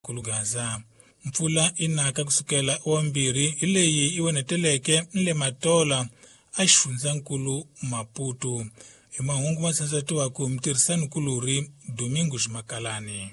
Kulugaza. Mpfula inaka kusukela wambirhi hi leyi yi oneteleke le Matola a xifundzankulu Maputo. Hi mahungu ma tsandzatiwaka mutirhisani-kulorhi Domingos Makalani.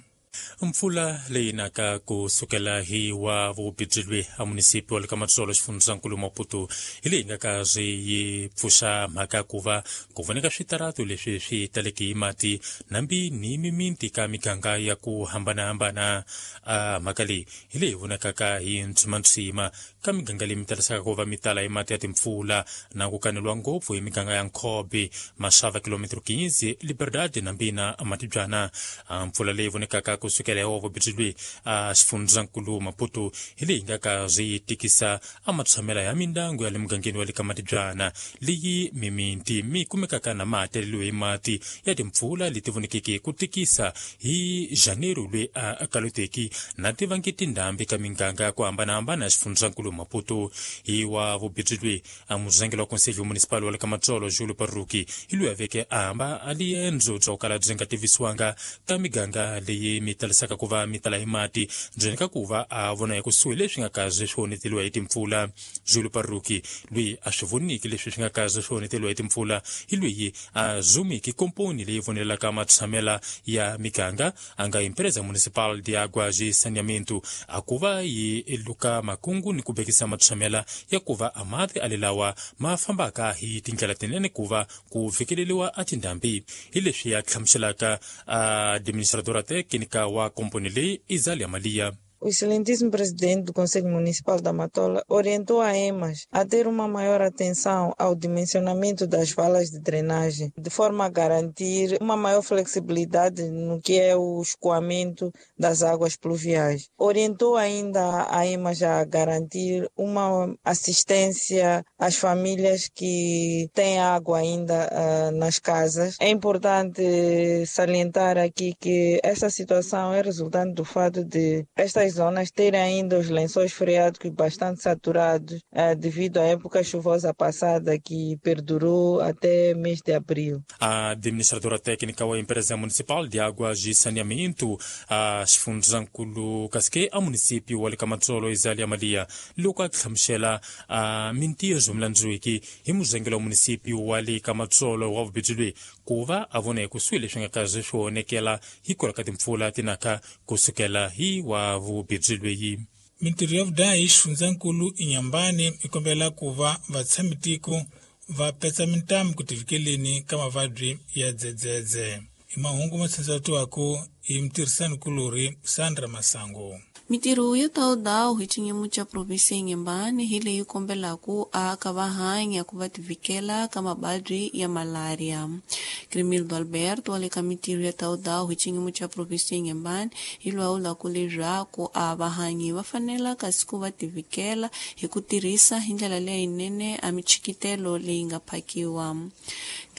Mpfula leyi naka ku sukela hi wa vubijilwe a munisipi wa le ka Matsolo xifundzankulu Maputo hi leyi nga ka swi yi pfuxa mhaka ku va ku voneka switaratu leswi swi taleke hi mati nambi ni miminti ka miganga ya ku hambanahambana. A mhaka leyi hi leyi vonakaka hi ntshimantsima ka miganga leyi mi talisaka ku va mi tala hi mati ya timpfula na ku kaneliwa ngopfu hi miganga ya Nkhobe, Maxava, kilometro 15, Liberdade nambi na Matibyana. A mpfula leyi vonekaka ku sukela hi wa vubijilwe a xifundzankulu Maputo hi leyi nga ka swi tikisa a matshamela ya mindyangu ya le mugangeni wa le ka Matibyana leyi miminti mi kumekaka na mahateleliwe hi mati ya timpfula leti vonekeke ku tikisa hi Janeiro lwe a kaloteki na tivangi tindhambi ka miganga ya ku hambanahambana ya xifundzankulu Maputo. Hi wa vubijilwe a muzangeli wa Conselho Municipal wa le ka Matsolo Julio Parruki hi loyi a veke a hamba a liendzo bya ku kala byi nga tivisiwanga ka miganga leyi mi talisaka ku va mi tala hi mati ndzeni ka ku va a vona hi kusuhi leswi nga kaze swi onheteliwa hi timpfula. Julio Parruki loyi a swi voniki leswi swi nga kaze swi onheteliwa hi timpfula hi loyi a zumiki komponi leyi vonelaka matshamela ya miganga a nga Empresa Municipal de Águas e Saneamento a ku va yi luka makungu ni ku bekisa matshamela ya ku va a mati a lelawa ma fambaka hi tindlela tinene ku va ku fikeleliwa a tindhambi. Hi leswi a hlamuselaka administradora técnica wa komponi leyi Izalia Malia. O excelentíssimo presidente do Conselho Municipal da Matola orientou a EMAS a ter uma maior atenção ao dimensionamento das valas de drenagem, de forma a garantir uma maior flexibilidade no que é o escoamento das águas pluviais. Orientou ainda a EMAS a garantir uma assistência às famílias que têm água ainda nas casas. É importante salientar aqui que essa situação é resultante do fato de estas zonas terem ainda os lençóis freáticos bastante saturados devido à época chuvosa passada que perdurou até mês de abril. A administradora técnica da Empresa Municipal de Águas e Saneamento, a xifundzankulu kasike a município wa le ka Matsolo Izalia Malia loko a hlamusela a mintirho milandzwiki hi muzengelo wa município wa le ka Matsolo wa vubijilwe ku va a vona hi kusuhi leswi nga kaze swi onekela hikwalaho ka timpfula tinaka kusukela hi wa vubijilweyi. Mintirho ya vudahi xifundzankulu Inhambane yi kombela ku va vatshamitiko va petsa mintamu ku tivikeleni ka mavabyi ya dzedzedze. Hi mahungu ma tsandzatiwaka hi mutirhisani-kulorhi Sandra Masango. Mintirho ya tawudawu hi xinyimo xa provinsi ya Inhambane hi leyi kombelaka aka va hanya ku va tivikela ka mavabyi ya malaria. Crimildo Alberto wa le ka mintirho ya tawudawu hi xinyimo xa provinsi ya Inhambane hi lwawulaka leswaku a vahanyi va fanela kasi ku va tivikela hi ku tirhisa hi ndlela leyinene a michikitelo leyi nga phakiwa.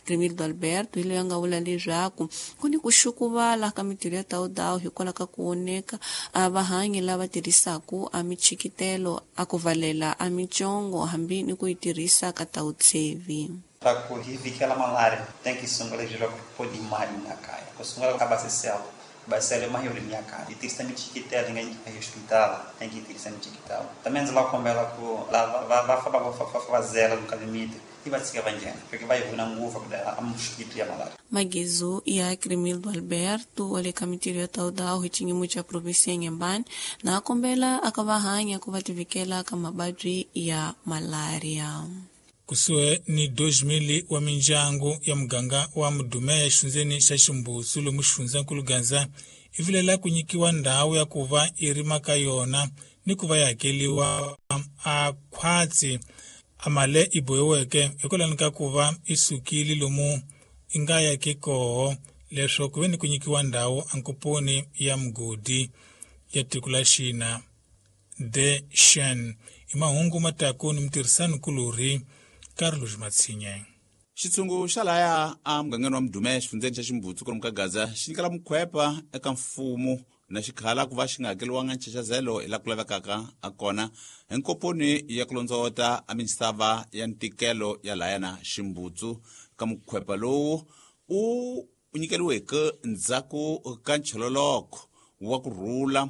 Crimildo Alberto hi loyi a nga vula leswaku ku ni ku xukuvala ka mintirho ya tawudawu hikwalaho ka ku oneka a vahanyi lava tirhisaka a michikitelo a ku valela a mitsongo hambi ni ku yi tirhisa ka tawutsevi. Para ku hi vikela malaria tem que sungula jira ku pôr mali na kaya. Ku sungula ka basisela. Basisela mais yuri minha kaya. E tirisa michikitelo ninguém vai hospital, tem que tirisa michikitelo. Também lá kombela ku lá va va va fazela no limite. E vai se avançando, porque vai vir na nguva a mosquito ya malaria. Magezo ya Crimildo Alberto wa le ka mintirho ya tawudawu hi xinyimo xa provinsi ya Inhambane na kombela aka va hanya ku va tivikela ka mavabyi ya malaria. Kusuhi ni 2000 wa mindyangu ya muganga wa Mudumeya exifundzeni xa Ximbutsu lomu xifundzankulu Gaza yi vilela ku nyikiwa ndhawu ya ku va yi rima ka yona ni ku va yi hakeliwa a khwatsi a mali yi bohiweke hikwalaho ka ku va yi sukile lomu yi nga yaki koho leswo ku ve ni ku nyikiwa ndhawu ankoponi ya mugodi ya tiko la Xina de Shen. Hi mahungu mataku ni mutirhisani-kulorhi Carlos Matsinye. Xitshungu xa laya a mugangeni wa Mudume xifundzeni xa Ximbutsu kwalomu ka Gaza xi nyikela mukhwepa eka mfumo na xikhala ku va xi nga hakeliwanga nxaxazelo hi laha ku lavekaka a kona hi nkoponi ya ku londzovota a misava ya ntikelo ya laya na Ximbutsu. Ka mukhwepa lowu u nyikeliweke ndzhaku ka nchololoko wa ku rhula